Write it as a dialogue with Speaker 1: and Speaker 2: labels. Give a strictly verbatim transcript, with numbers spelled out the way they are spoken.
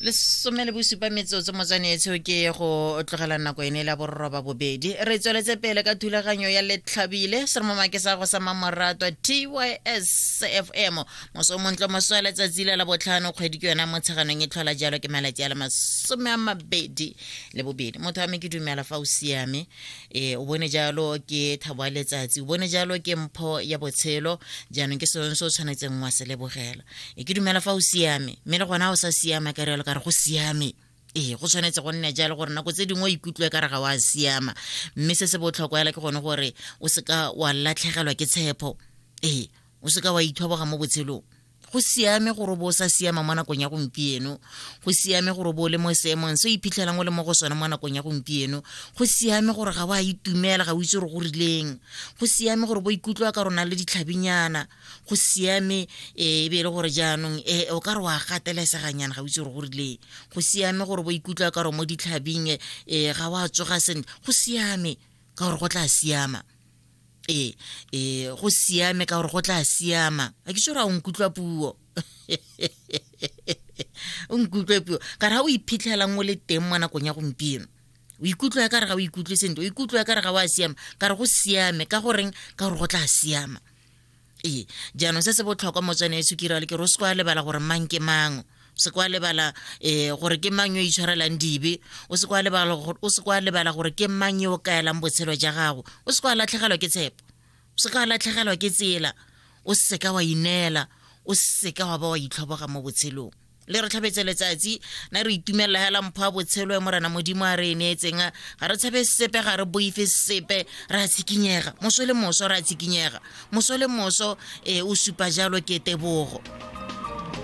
Speaker 1: Lesome le bosupa metsotso motswanetsho ke go tlogela nako ene la borroba bobedi. Re tsweletse pele ka thulaganyo ya Letlhabile, seromamake sa go sa mamoratwa T Y S F M. Moso o montle, moso wa letsatsi la labotlhano, kgwedi ke yona Motsheganong e tlhola jalo ke malatsi a le masome a mabedi le bobedi. Motho wa me ke dumela fa o siame, e o bone jalo ke thabo ya letsatsi, o bone jalo ke mpho ya botshelo, jaanong ke sone se o tshwanetseng wa se lebogela. E ke dumela fa o siame, mme le gona o sa siama ka rialo ka re go siame. Ee, go tshwanetse go nne jalo gore nako tse dingwe o ikutlwe ka re ga wa siama, mme se se botlhokwa hela ke gone gore o seka wa latlhegelwa ke tshepo. Ee, o seka wa ithoboga mo botshelong. Go siame gore o bo o sa siama mo nakong ya gompieno, go siame gore o bo o le mo seemong se o iphitlhelang o le mo go sone mo nakong ya gompieno, go siame gore ga o a itumela, ga o itse gore go rileng, go siame gore bo ikutlwa ka rona le ditlhabinyana, go siame e be e le gore jaanong e o ka re wa gateleseganyana, ga o itse gore go rileng, go siame gore bo ikutlwa ka re mo ditlhabing e ga wa tsoga sentle, go siame ka gore go tla siama. E e go siame ka gore go tla siama. A ke tsore a o nkutlwa puo. O nkutlwe puo. Ka re ha o iphitlhelang o le teng mo nakong ya gompieno, o ikutlwa ka re ga o ikutlwe sentle, o ikutlwa ka re ga o a siama, ka re go siame ka goreng, ka gore go tla siama. Ee, jaanong se se botlhokwa motswane e sukira le ke re o se kwa lebala gore mang ke mang, o se kwa lebala eh gore ke mang yo itshwarelang dibe, o se kwa lebala gore, o se kwa lebala gore ke mang yo o kaelang botshelo ja gago, o se kwa latlhegelwa ke tshepo, o se kwa latlhegelwa ke tsela, o se ka wa ineela, o se ka wa ba wa itlhoboga mo botshelong. Le re tlhabetse letsatsi, na re itumelela hela mpho ya botshelo e Morena Modimo a re e neetseng, ga re tshabe sepe, ga re boife sepe, re a tshikinyega moso le moso, re a tshikinyega moso le moso. E o supa jalo ke tebogo.